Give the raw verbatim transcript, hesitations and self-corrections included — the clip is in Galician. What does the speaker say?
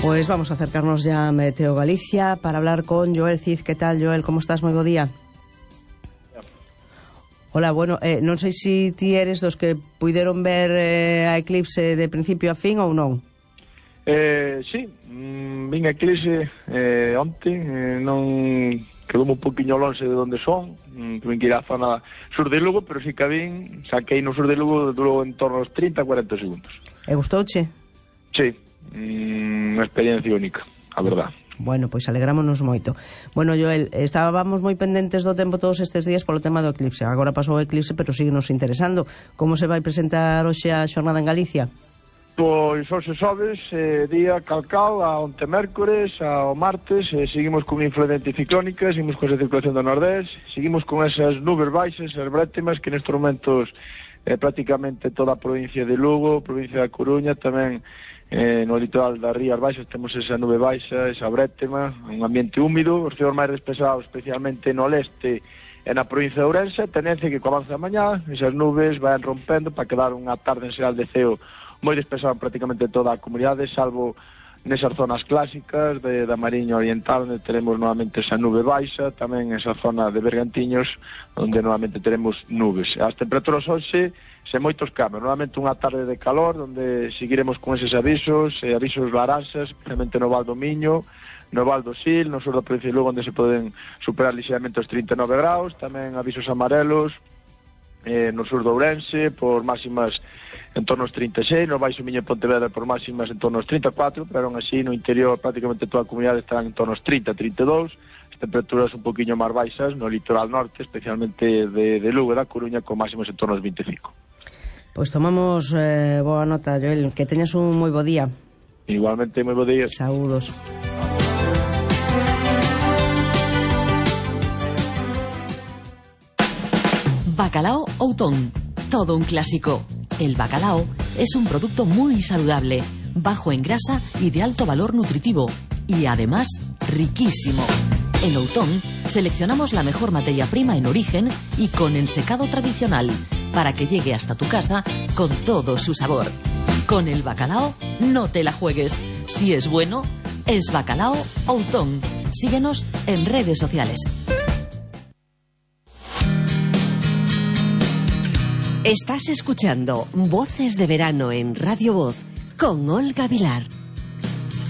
Pues vamos a acercarnos ya a Meteo Galicia para hablar con Joel Cid. ¿Qué tal, Joel? ¿Cómo estás? Moi bo día. Hola, bueno, eh, non sei se ti eres dos que puideron ver eh, a eclipse de principio a fin ou non. Eh, sí, mm, vin a eclipse eh, onte, eh, non quedoume un poquinho longe de onde son, mm, tuve que ir á zona sur de Lugo, pero sí que a vin, saquei no sur de Lugo, durou en torno aos trinta a cuarenta segundos. E gustouche? Sí, mm, unha experiencia única, a verdad. Bueno, pois alegrámonos moito. Bueno, Joel, estábamos moi pendentes do tempo todos estes días polo tema do eclipse. Agora pasou o eclipse, pero sigue nos interesando. Como se vai presentar hoxe a xornada en Galicia? Pois hoxe sobes, eh, día calcal, a onte mércores, ao martes, eh, seguimos con influencia ciclónica, seguimos con esa circulación do nordés, seguimos con esas nubes baixas, esas brétemas, que nestes momentos eh, prácticamente toda a provincia de Lugo, provincia da Coruña, tamén eh, no litoral das Rías Baixas temos esa nube baixa, esa brétema, un ambiente húmido, os cielos máis despesados, especialmente no leste e na provincia de Ourense, tendencia que co avance da mañá, esas nubes van rompendo para quedar unha tarde en xeral de ceo moi despesado prácticamente toda a comunidade, salvo nesas zonas clásicas de, da Mariña Oriental, onde teremos novamente esa nube baixa, tamén esa zona de Bergantiños, onde novamente teremos nubes. As temperaturas hoxe, sen moitos cambios, novamente unha tarde de calor, onde seguiremos con eses avisos, eh, avisos laranxas, especialmente no Val do Miño, no Val do Sil, no sur da provincia de Lugo, onde se poden superar lixeiramente os trinta e nove graus, tamén avisos amarelos, eh, no sur de Ourense, por máximas en torno aos trinta e seis, no Baixo Miño e Pontevedra por máximas en torno aos trinta e catro, pero aún así no interior prácticamente toda a comunidade estarán en torno aos trinta a trinta e dous, as temperaturas un poquinho máis baixas no litoral norte, especialmente de, de Lugo e da Coruña, con máximas en torno aos vinte e cinco. Pois tomamos eh, boa nota, Joel, que teñas un moi bo día. Igualmente, moi bo día. Saúdos. Bacalao Outón, todo un clásico. El bacalao es un producto muy saludable, bajo en grasa y de alto valor nutritivo, y además riquísimo. En Outón seleccionamos la mejor materia prima en origen y con ensecado tradicional, para que llegue hasta tu casa con todo su sabor. Con el bacalao no te la juegues. Si es bueno, es Bacalao Outón. Síguenos en redes sociales. Estás escuchando Voces de Verano en Radio Voz con Olga Vilar.